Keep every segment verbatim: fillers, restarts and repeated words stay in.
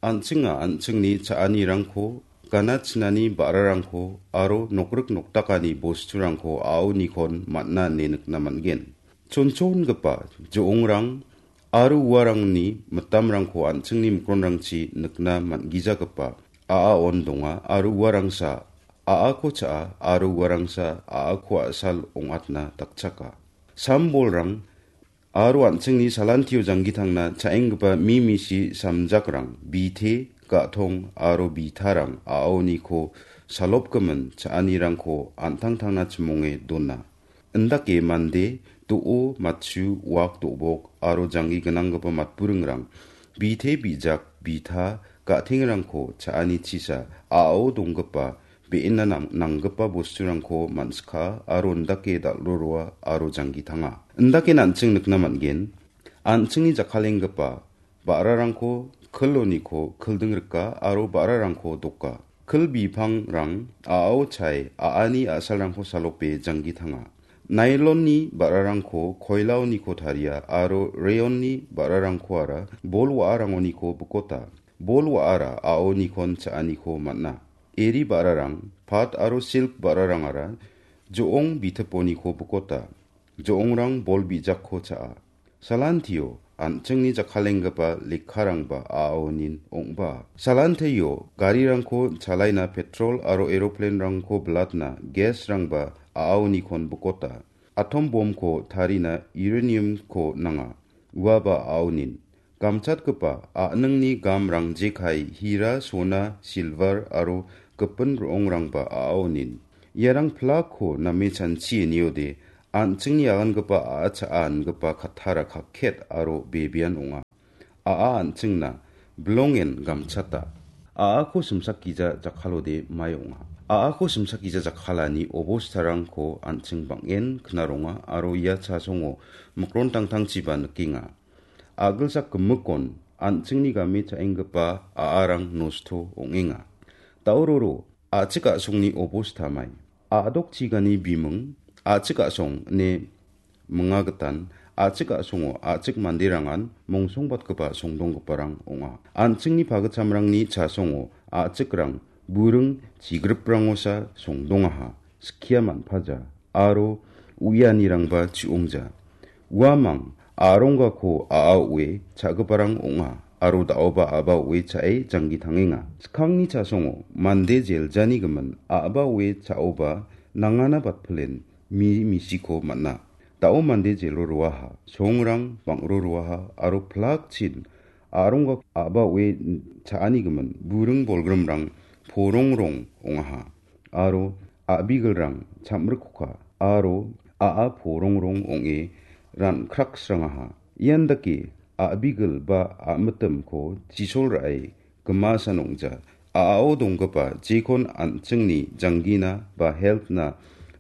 An·chinga an·chingni cha·anirangko, gana chinani ba·rarangko aro nokrik nokdakani bosturangko a·aonikon man·a ine nikna man·gen. Chonchongipa jo·ongrang aro uarangni mitamrangko an·chingni mikronrangchi nikna man·gijagipa a·aon donga aro uarangsa a·ako cha·a aro uarangsa a·ako a·sal ong·atna dakchaka. Sam-bolrang aro an·chingni salantio janggitangna cha·enggipa mi misi samjakrang, bite, ga·tong aro bitarang a·aoniko salopgimin cha·anirangko an·tangtangna chimonge dona. Indake mande, do·o, matchu, wak, do·bok aro janggi gnanggipa matburingrang bite, bijak, bita, ga·tengrangko cha·ani chisa a·ao donggipa be·ena nang-, nanggipa bosturangko man·sika aro indake dal·roroa aro janggi tanga. Indake an·ching nikna man·gen, an·chingni jakkalenggipa ba·rarangko kiloniko kilding rika aro ba·rarangko doka. Kil bipangrang a·ao chae a·ani a·salrangko salope janggi tanga. Nailonni ba·rarangko koilaoniko taria aro reyonni ba·rarangkoara bol wa·arangoniko bikota. Bol wa·ara a·aonikon cha·aniko man·a. Eri ba·rarang, pat aro silk ba·rarangara jo·ong bitiponiko bikota. Jo·ongrang bol bijakko cha·a. Salantio an·chingni jakkalenggipa lekkarangba a·aonin ong·ba. Salantio garirangko chalaina petrol aro eroplenrangko bilatna gasrangba a·aonikon bikota. Atom bomko tarina uraniumko nanga. Uaba a·aonin. Gamchatgipa a·ningni gamrang jekai hira, sona, silver aro gipin ro·ongrangba a·aonin. Iarang plakko name chanchi niode, an·chingni agangipa a·a cha·angipa kattara kakket aro bebean ong·a. A·a an·chingna bilongen gamchata. A·ako simsakgija jakkalode mae ong·a. A·ako simsakgija jakkalani obostarangko an·ching bang·en knaronga aro ia chasongo mikron tangtangchiba nikenga. A·gilsak gimikkon an·chingni game cha·enggipa a·arang nosto ong·enga. Dauroro a·chik a·songni obosta mai. A·dok chigani biming a·chik a·song ine minga gitan a·chik a·songo a·chik manderangan mongsongbatgipa songdonggiparang ong·a. An·chingni pagitchamrangni chasongo a·chikrang buring chigriprangosa songdongaha, skia man·paja. Aro uianirangba chi·ongja. Uamang a·ronggako a·a o·e cha·giparang ong·a, aro da·oba a·ba o·e cha·e janggi tangenga. Skangni chasongo mande jeljani gimin a·ba o·e cha·oba nangana batpilen mi misiko man·a. Da·o mande jelo roaha, songrang bang·ro roaha, aro plakchin a·rongga a·ba o·e cha·ani gimin buring bolgrimrang porongrong ong·aha. Aro a·bigilrang chamrikkoka aro a·a porongrong ong·e ran·kraksrangaha. Ian dake a·bigil ba a·mitimko chisol ra·e gimasa nong·ja. A·ao donggipa jekon an·chingni janggina ba health-na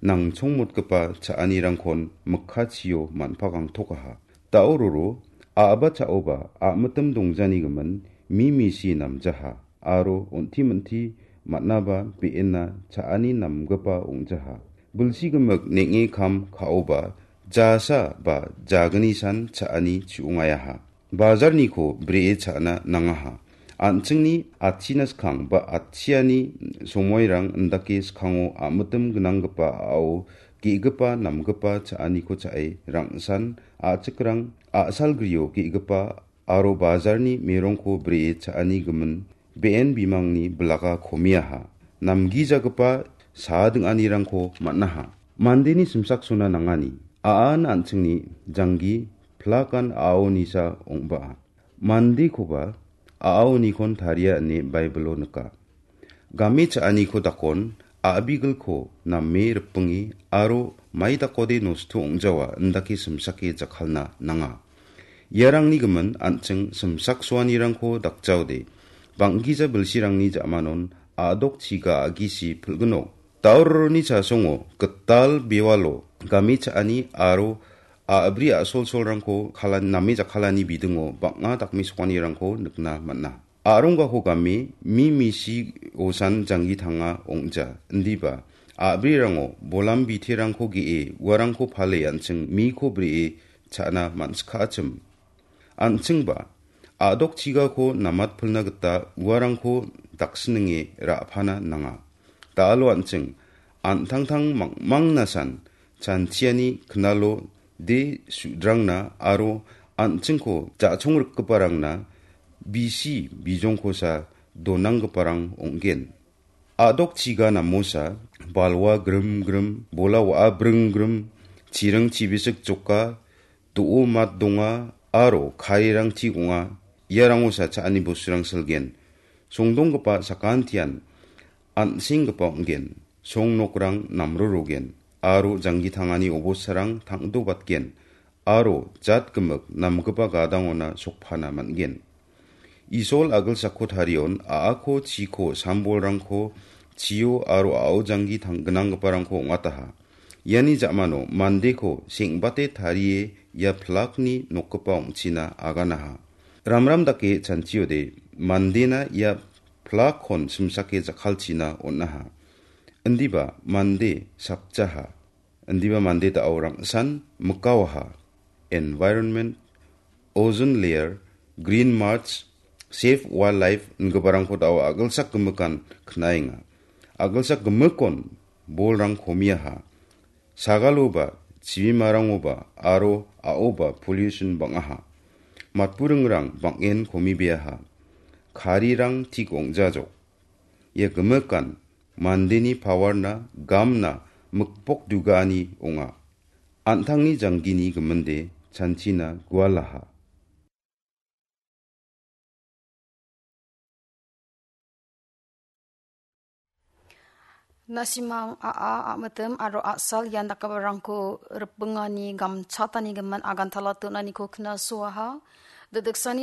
nangchongmotgipa cha·anirangkon mikkachio man·pakangtokaha. Daororo a·ba cha·oba a·mitim dongjani gimin mi misi namjaha. Aro on·ti minti man·aba be·ena cha·ani namgipa ong·jaha. Bilsi gimik neng·e kam ka·oba jasa ba jagni san cha·ani chu·ongayaha. Bajarniko bree cha·na nangaha. An·chingni achina skang ba achiani somoirang indake skango a·mitim gnanggipa a·ao ge·gipa namgipa cha·aniko cha·e rang·san a·chikrang a·salgrio ge·gipa aro bajarni merongko bree cha·ani gimin be·en bimangni bilaka komiaha. Namgijagipa saa ding·anirangko man·aha. Mandeni simsaksona nangani. A·an an·chingni janggi plakan a·aonisa ong·baa. Mandekoba a·aonikon taria ine Baibilo nika. Game cha·aniko dakon a·bigilko name ripinge aro mai dakode nosto ong·jawa indake simsake jakkalna nanga. Iarangni gimin an·ching simsaksoanirangko dakjaode bang·gija bilsirangni ja·manon a·dok chiga a·gisi pil·ginok. Daororoni chasongo gital bewalo game cha·ani aro a·bri a·solsolrangko kalan-, name jakkalani bidingo bang·a dakmesokanirangko nikna man·a. A·ronggako game mi misi osan janggi tanga ong·ja, indiba a·brirango bolam biterangko ge·e uarangko pale an·ching miko bree cha·na man·sikachim. An·chingba A·dokchigako namatpilna gita uarangko daksininge ra·pana nanga. Da·alo an·ching an·tangtang mangmangnasan chanchiani knalo de su·drangna aro an·chingko ja·chongrikgiparangna bisi bijongkosa donanggiparang ong·gen. A·dokchiga namosa balwa grim grim, bola wa·a bring grim, chiring chibisik joka, do·o mat donga aro karirang tik ong·a. Iarangosa cha·ani bosturang silgen. Songdonggipa sakantian an·senggipa ong·gen. Song nokrang namrorogen aro janggi tangani obosarang tangdobatgen aro jatgimik namgipa gadangona sokpana man·gen. Isol agilsako tarion a·ako chiko sambolrangko chio aro a·o janggi tang-, gnanggiparangko ong·ataha. Iani ja·mano mandeko seng·bate tarie ia plakni nokgipa ong·china aganaha. Ramram dake chanchiode mandena ia plakkon simsake jakkalchina on·aha. Indiba mande sakjaha. Indiba mande da·o rangsan mikawaha. Environment, ozone layer, green march, save wildlife ingiparangko da·o agilsak gimikan knaenga. Agilsak gimikon bolrang komiaha. Sagaloba, chibimarangoba aro a·oba pollution bang·aha. Matburingrang bang·en komibeaha. Karirang tik ong·jajok. Ia gimikan mandeni pawarna gamna mikpok dugaani ong·a. An·tangni janggini giminde chanchina gualaha. Nasimang a·a, a·mitim aro a·sal ian dakgiparangko ripbingani gamchatani gimin agantala tonaniko knasoaha. Dodiksani